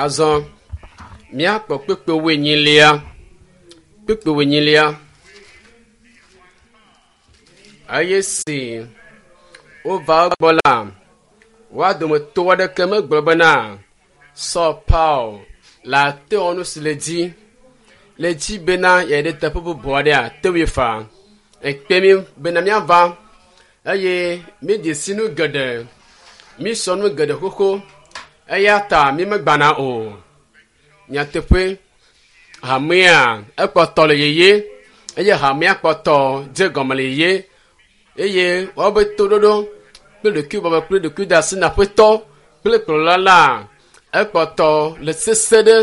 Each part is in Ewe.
Azɔ míakpɔ kpukpui wuienyilia. Kpukpui wuienyilia. Eye si wova egbɔ la, woa dometɔ aɖeke megblɔ bena Saul Paul le ate wɔ nu si le dzi le dzi bena yeayi ɖe teƒe bubu aɖea te ŋui faa. Ekpe mí bena míava eye mídze si nu geɖe, mísɔ nu geɖe xoxo eya ta mímegbana o. Nyateƒe, hamea ekpɔtɔ le yeye eye hamea kpɔtɔ dze gɔme le yeye eye woabe toɖoɖo kple ɖokuibɔbɔ kple ɖokuidasi na Aƒetɔ kple kplɔla la ekpɔtɔ le sese ɖe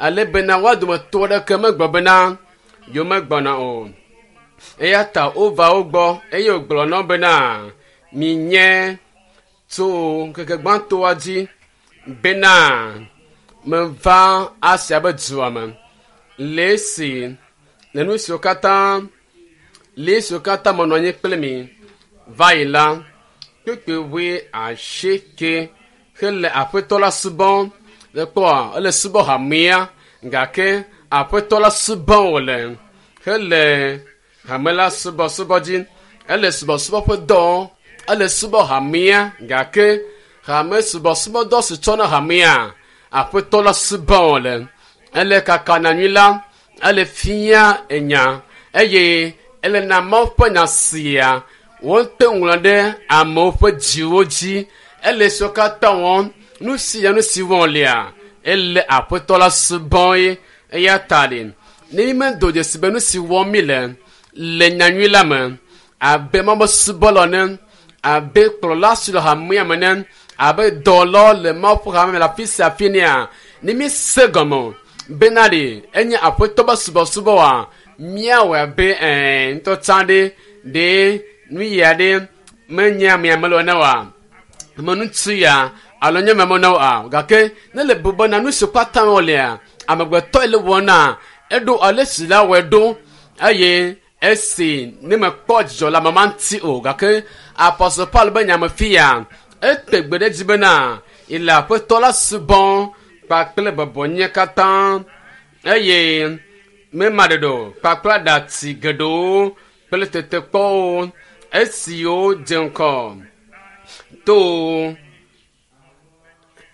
ale bena woa dometɔ aɖeke megblɔ bena yewomegbɔna o. Eya ta wova wo gbɔ eye wògblɔ na wo bena, Minye tso ŋkeke gbãtɔa dzi bena meva Asia be dua me le esi le nu siwo katã le esiwo katã menɔ anyi kple mi va yi la, kpukpui wuiasieke hele Aƒetɔ la subɔm. Le kpɔa, ele subɔ hamea gake Aƒetɔ la subɔm wòle hele hame la subɔsubɔ dzi. Ele subɔsubɔ ƒe dɔ wɔm. Ele subɔ hamea gake hame subɔsubɔdɔ si tsɔ na hamea, Aƒetɔ la subɔm wòle. Ele kaka nyanyui la, ele fia enya eye ele na Mawu ƒe nya sia wote ŋlɔ ɖe amewo ƒe dziwo dzi. Ele esiwo katã wɔm, nu sia nu si wɔm wòlea, ele Aƒetɔ la subɔm ye. Eya ta ɖe, ne mímedo dzesi be nu si wɔm míle le nyanyui la me, abe Mawu subɔla ene, abe kplɔla si le hamea me ene, abe dɔwɔlawo le Mawu ƒe hame me le afi sia afi enea, ne míese gɔme o bena ɖe enye Aƒetɔ ƒe subɔsubɔ oa, míawɔe abe ɛɛ ŋutɔ tsã ɖe ɖe nu ya ɖe menye amea mele o ene oa, ame ŋutsu ya alo nye ame mele oa. Gake ne le bu bena nu si katã wolea, amegbetɔe le wɔna, eɖo ale si la wɔe ɖo eye esi ne mekpɔ dzidzɔ le ame ma ŋuti o. Gake Apostle Paul be nya me fia, ete gbe ɖe edzi bena yele Aƒetɔ la subɔm kpakple bɔbɔnyenye katã eye mema ɖeɖe o kpakple aɖatsi geɖewo kple tetekpɔwo esiwo dze ŋgɔ to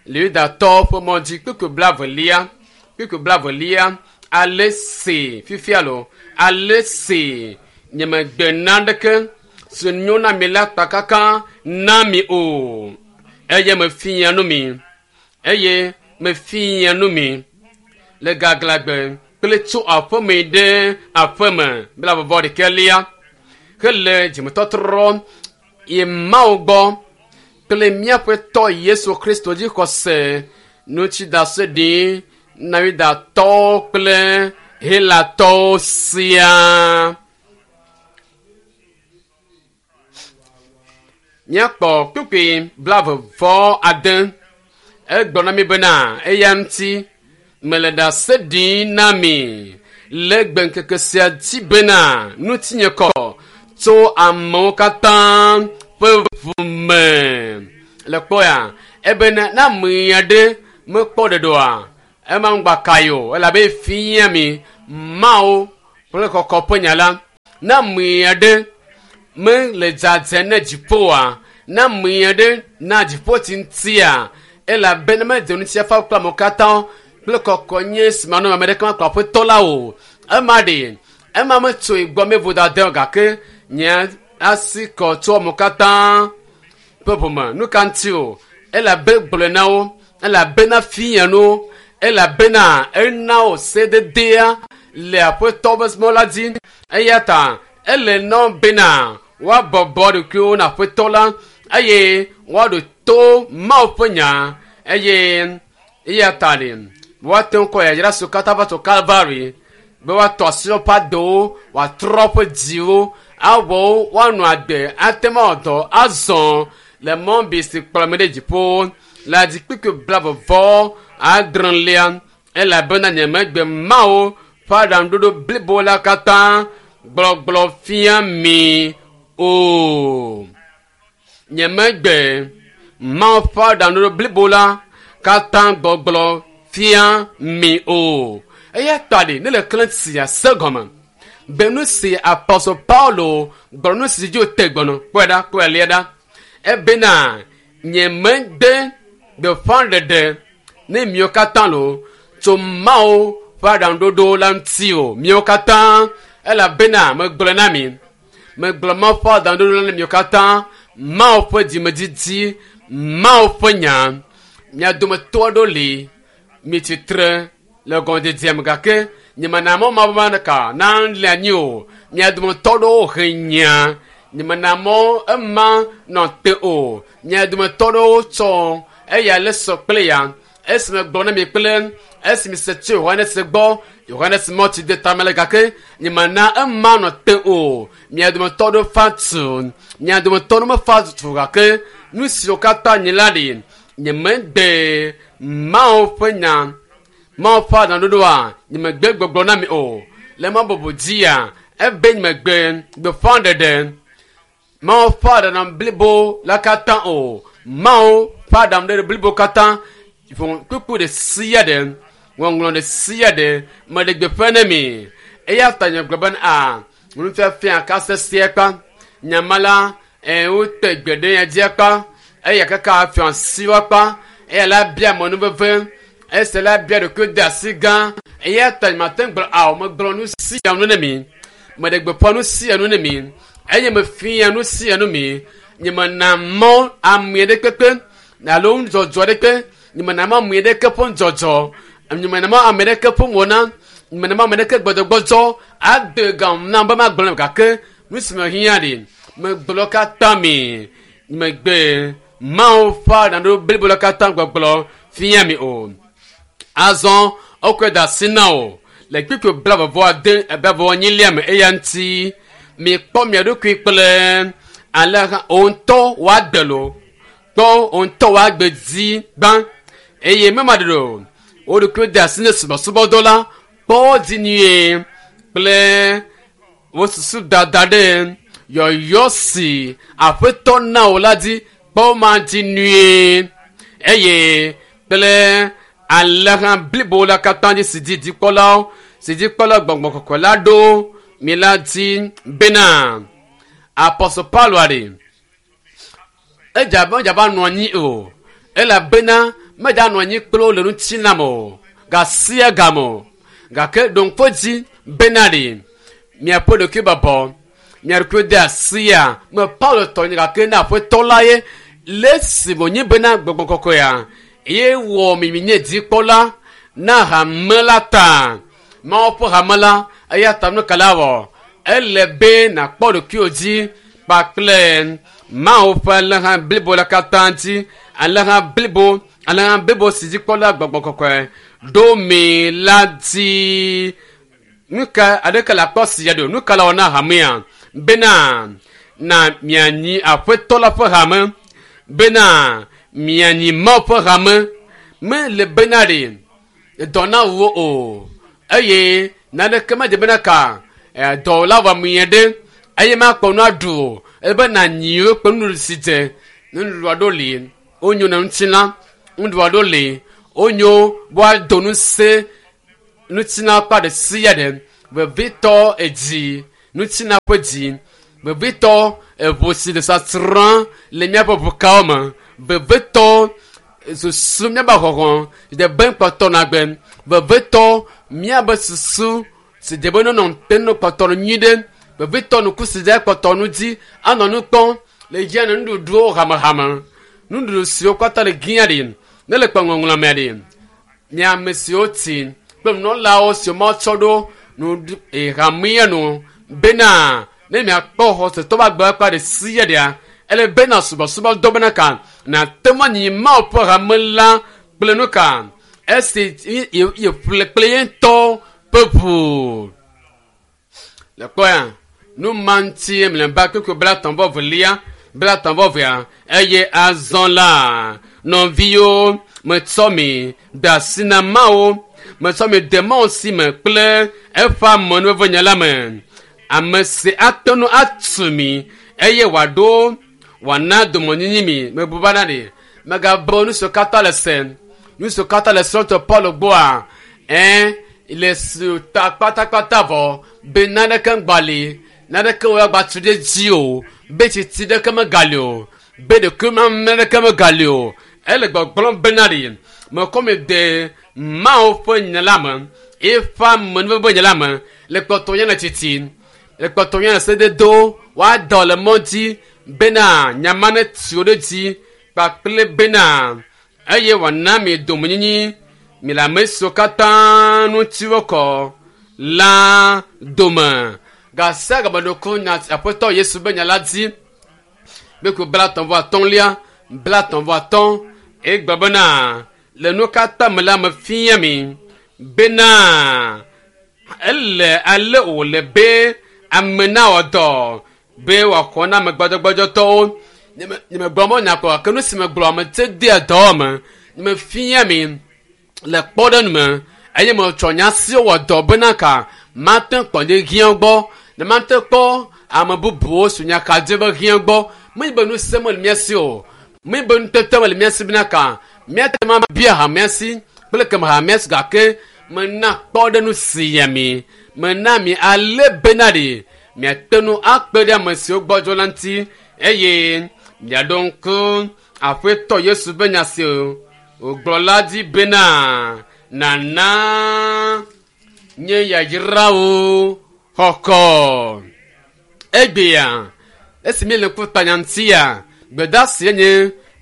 le Yudatɔwo ƒe mɔ dzi. Kpukpui blaevelia, kpukpui blaevelia, ale si fifia lo, ale si nyemegbe naneke si nyo na mi la kpakaka na mi o, eye mefia nu mi, eye mefia nu mi le gaglãgbe kple tso aƒeme ɖe aƒeme blaeve vɔ ɖekɛlia hele dzimetɔtrɔ yi Mawu gbɔ kple míaƒe tɔ Yesu Kristo dzi xɔse ŋuti ɖase ɖi na Yudatɔwo kple Helatɔwo siaa. Míakpɔ kpukpui blaeve vɔ ade. Egblɔ na mi bena eya ŋuti mele ɖase ɖim na mi le gbeŋkeke sia dzi bena ŋutinye kɔ tso amewo katã ƒe ʋu me. Le kpɔya ebena ne ame aɖe mekpɔ ɖeɖe oa, ema ŋgba kae o elabe fia mi Mawu kple kɔkɔ ƒe nya la. Ne ame aɖe mele dzadzɛ ne dziƒoa, ne ame aɖe na dziƒo tsi ŋutia, elabena medze ŋutifafa kple amewo katã kple kɔkɔ nye si manɔ ame ɖeke makplɔ Aƒetɔ la o. Ema ɖe, ema metsoe gbɔ me vodada o gake nye asi kɔ tso amewo katã ƒe ʋume. Nu ka ŋuti o? Elabe gblɔe na wo, elabena fia nu, elabena ena wo sededea le Aƒetɔ ƒe mɔ la dzi. Eya ta ele na wo bena woabɔbɔ ɖokuiwo na Aƒetɔ la eye woaɖo to Mawu ƒe nya eye eya ta ɖe woate ŋu kɔ yayra siwo katã va tso Kalvari be woatɔ asi woƒe adowo, woatrɔ woƒe dziwo, awɔ wo woanɔ agbe ate ŋu awɔ dɔ azɔ le mɔ bi si kplɔ ame ɖe dziƒo le adzikpikpi blaeve vɔ adrelia elabena nyemegbe Mawu ƒe aɖaŋuɖoɖo blibo la katã gblɔgblɔ fia mi o. Nyemegbe Mawu ƒe aɖaŋuɖoɖo blibo la katã gbɔgblɔ fia mi o. Eya ta ɖe ne le klẽ sia se gɔme be nu si Apɔstɔ Paulo gblɔ nu si dzi wòte gbɔnɔ kpɔe ɖa kpɔe lia ɖa ebena nye megbe gbeƒãɖeɖe ne miwo katã lo tso Mawu ƒe aɖaŋuɖoɖo la ŋuti o miwo katã elabena megblɔ na mi megblɔ Mawu ƒe aɖaŋuɖoɖo la na miwo katã Mawu ƒe dzimedidi Mawu ƒe nya mia dometɔ aɖewo li mi tsitre le gɔmedzedzea me gake nyemena mɔ ma be ka na le anyi o mia dometɔ aɖewo he nya nyemena mɔ ema nɔ te o mia dometɔ aɖewo tsɔ eya le sɔ kple ya esi megblɔ na mi kple esi mi se tso Yohanes gbɔ Yohanes mɔ tsi de tame le gake nyemena ema nɔ te o mia dometɔ aɖewo fa tu mia dometɔ aɖewo mefa tu gake nu siwo katã nyi la ɖi nyemegbe Mawu ƒe nya Mawu ƒe aɖaŋuɖoɖoa nyemegbe gbɔgblɔ na mi o le ma bubu dzia ebe nyemegbe gbeƒãɖeɖe Mawu ƒe aɖaŋu blibo la katã o Mawu ƒe aɖaŋuɖoɖo blibo katã kpukpu ɖe sia ɖe ŋɔŋlɔ ɖe sia ɖe meɖe gbeƒã ne mi eya ta nye gblɔ bena a nufiafia ka sesẽ kpa nyama la wote gbe ɖe ya dzi kpa eya kaka fiɔ asiwo kpa eya la bia mɔnuveve esi la bia ɖokui de asi gã eya ta nye mate ŋu gblɔ awo megblɔ nu sia nu ne mi meɖe gbeƒã nu sia nu ne mi eye mefia nu sia nu mi nye mena mɔ ame ɖe kpekpe alo nudzɔdzɔ ɖe kpe nye mena mɔ ame ɖeke ƒe nudzɔdzɔ nye mena mɔ ame ɖeke ƒe wɔna nye mena mɔ ame ɖeke gbɔdɔgbɔdzɔ ade gam nam be magblɔ ne gake nu si me hiã ɖi megblɔ katã mi megbe Mawu ƒe aɖaŋuɖoɖo blibo la katã gbɔgblɔ fia mi o. Azɔ wokɔe de asi na wò le kpukpui blaeve-vɔ-ade blaeve-vɔ-enyilia me eya ŋuti mikpɔ mia ɖokui kple alẽha wò ŋutɔ wòagbe lo kpɔ wò ŋutɔ wòagbe dzi gbã eye mema ɖeɖe o wo ɖokui de asi ne subɔsubɔdɔ la kpɔ wo dzi nyuie kple wo susu dada ɖe yɔyɔ si aƒetɔ na wò la dzi kpɔ ma dzi nyuie eye kple alẽha blibo la katã dzi si dzi dzikpɔlawo si dzikpɔla gbɔgbɔ kɔkɔe la ɖo mi la dzi bena Apɔstɔ Paulo ɖe edze abe medze abe anɔ anyi o elabena medze anɔ anyi kple wo le ŋutilã me o gasia game o gake ɖo ŋku edzi bena ɖe miaƒe ɖokui bɔbɔ mia ɖokui de asia me Paulo tɔ nye gake na aƒetɔ la ye le esi wònye bena gbɔgbɔ kɔkɔea ye wɔ mi nye dzikpɔla na hame la ta Mawu ƒe hame la eya ta nu ka la wɔ ele be nàkpɔ ɖokuiwò dzi kpakple Mawu ƒe alẽha blibo la katã dzi alẽha blibo alẽha blibo si dzikpɔla gbɔgbɔ kɔkɔe ɖo mi la dzi nu ka aɖeke le akpɔ si ya ɖo nu ka la wɔ na hamea bena na mianyi aƒetɔ la ƒe hame bena mianyi Mawu ƒe hame mele bena ɖe dɔ na wo o eye naneke medze bena ka dɔ la wɔ mie ɖe eye makpɔ nu aɖu o ebe nanyi wo kple nuɖuɖu si dze nuɖuɖu aɖewo li wonyo na ŋutilã nuɖuɖu aɖewo li wonyo be woado ŋusẽ ŋutilã ƒe ɖe sia ɖe vevitɔ edzi ŋutilã ƒe dzi vevitɔ eʋu si le sasrã le míaƒe ʋukawo me vevitɔ susu míaƒe xɔxɔ si be kpɔtɔ na gbe vevitɔ míaƒe susu si dze be nonɔ te no kpɔtɔ no nyui ɖe vevitɔ nuku si dze kpɔtɔ nu dzi anɔ nu kpɔm le dzia ne nuɖuɖuwo hamehame nuɖuɖu siwo katã le gia ɖi ne le kpe ŋɔŋlɔ me ɖi mia ame siwo tsi kple nunɔlawo siwo matsɔ ɖo nu hamea nu bena ne miakpɔ xɔsetɔ ƒe agbe akpa ɖe sia ɖea ele bena subɔsubɔdɔ bena ka nàte ŋu anyi Mawu ƒe hame la kple nu ka esi yeƒle kple ye ŋutɔ ƒe ʋu le kpɔya nu ma ŋuti mlɔeba kpukpui 33 32 eye azɔ la nɔviwo metsɔ mi de asi na Mawu metsɔ mi de Mawu si me kple eƒe amenuveve la me ame si ate ŋu atu mi eye wòaɖo wòana domenyinyi mi mebu bana ɖe megabɔ nu siwo katã le se Nu siwo katã le srɔ̃tɔ Paulo gbɔa, ɛ le su ta kpatakpata vɔ be naneke ŋgba li, naneke woagba tu ɖe dzi o, be tsitsi ɖeke megali o, be ɖekui naneke megali o. Ele gbɔgblɔm bena ɖi mekɔ mi de Mawu ƒe nya la me, eƒe amenuveve nya la me, le kpɔtɔ nye le tsitsi, le kpɔtɔ nye le sededo, woadɔ le mɔ dzi bena nyama ne tu ɖe dzi kpakple bena eye wòana mi domenyinyi mi le ame siwo katã ŋuti wokɔ la dome. Gasia gameɖoko nya Aƒetɔ Yesu be nya la dzi kpekpe 35, 35 egblɔ bena le nu katã me la mefia mi bena ele ale wòle be ame nawɔ dɔ be wòaxɔ na ame gbɔdzɔgbɔdzɔtɔwo. Nyemegblɔ mɔ nya kɔ gake nu si megblɔ ame te dea dɔ me mefia mi le kpɔɖeŋu me eye metsɔ nya siwo wɔ dɔ bena ka mate kpɔ nye hiã gbɔ ne mate kpɔ ame bubuwo su nya ka dze be hiã gbɔ. Menye be ŋusẽ mele mía si o, menye be nutete mele mía si bena ka míate ŋu abia hamea si kple keme hamea si gake mena kpɔɖeŋu sia mi mena mi ale bena ɖi miate ŋu akpe ɖe ame siwo gbɔdzɔ la ŋuti eye miaɖo ŋku Aƒetɔ Yesu be nya si wògblɔ la dzi bena nana nye yayrawo xɔxɔ. Egbea esi míele ŋku tanya ŋutia, gbedeasi nye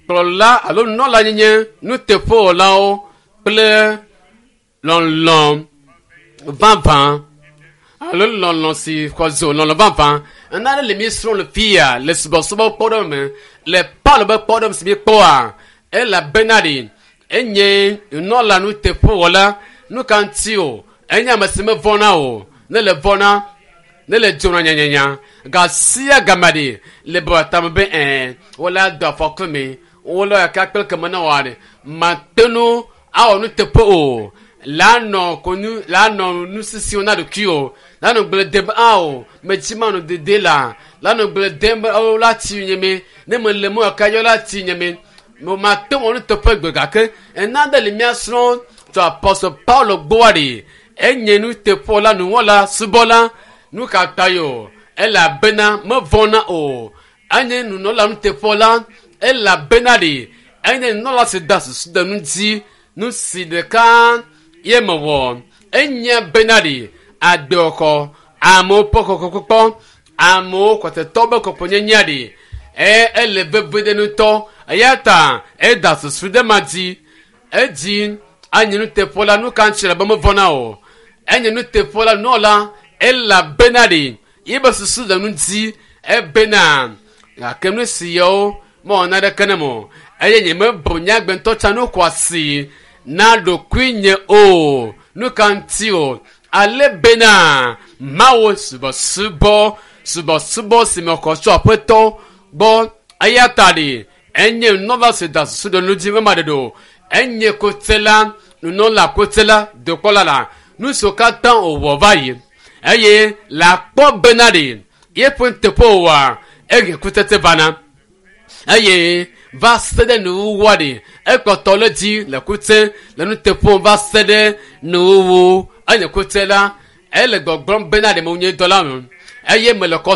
kplɔla alo nunɔla nyenye nuteƒewɔlawo kple lɔlɔ̃ vavã alo lɔlɔ̃ si xɔ zo lɔlɔ̃ vavã. Nane le míesrɔ̃ le fia le subɔsubɔ kpɔɖeŋu me le Paulo be kpɔɖeŋu si míekpɔa elabena ɖi enye nunɔla nuteƒewɔla. Nu ka ŋuti o? Enye ame si mevɔ̃na o. Ne le vɔ̃na, ne le dzona nyanyanya gasia game ɖi le bɔ tame be ɛɛ wole do afɔku mi wole yaka kple keme ne wɔa ɖi mate ŋu awɔ nuteƒe o. La nɔ konu la nɔ nusisiwo na ɖokui o la nɔ gble dem ao metsi ma nɔ dede la la nɔ gble dem be o la tsi nye me ne me le mo yaka yɔ la tsi nye me mo mate ŋu wɔ nuteƒe gbe gake ena ɖe le mía srɔ̃ tso Apɔstɔ Paulo gbɔa ɖi enye nuteƒewɔla nuwɔla subɔla. Nu ka ta yo? Elabena mevɔ̃na o. Enye nunɔla nuteƒewɔla elabena ɖi enye nunɔla si da susu ɖe nu dzi nu si ɖeka ye mewɔ. Enye bena ɖi agbexɔ amewo ƒe kɔkɔkpɔkpɔ amewo kɔtetɔ be kɔkɔnyenyea ɖi eye ele veve ɖe ŋutɔ eya ta eda susu ɖe ma dzi edzi enye nuteƒewɔla nu ka ŋuti le be mevɔ̃na o. Enye nuteƒewɔla nunɔla elabena ɖi yebe susu le nu dzi ebena gake nu si yawo mewɔ naneke ne mo eye nyemebu nye agbe ŋutɔ tsã nu xɔasi na ɖokuinye o. Nu ka ŋuti o? Ale bena Mawu subɔsubɔ subɔsubɔ si mexɔ tso Aƒetɔ gbɔ eya ta ɖi enye nunɔla si da susu ɖe nu dzi mema ɖeɖe o. Enye kotsela nunɔla kotsela dokpɔla la nu siwo katã wòwɔ va yi eye le akpɔ bena ɖi yeƒe nuteƒe wòwɔa ehe kutsetse vana eye va se ɖe nuwuwua ɖi ekpɔtɔ le dzi le kutse le nuteƒe va se ɖe nuwuwu enye kutse la ele gbɔgblɔm bena ɖe menye dɔla me eye mele kɔ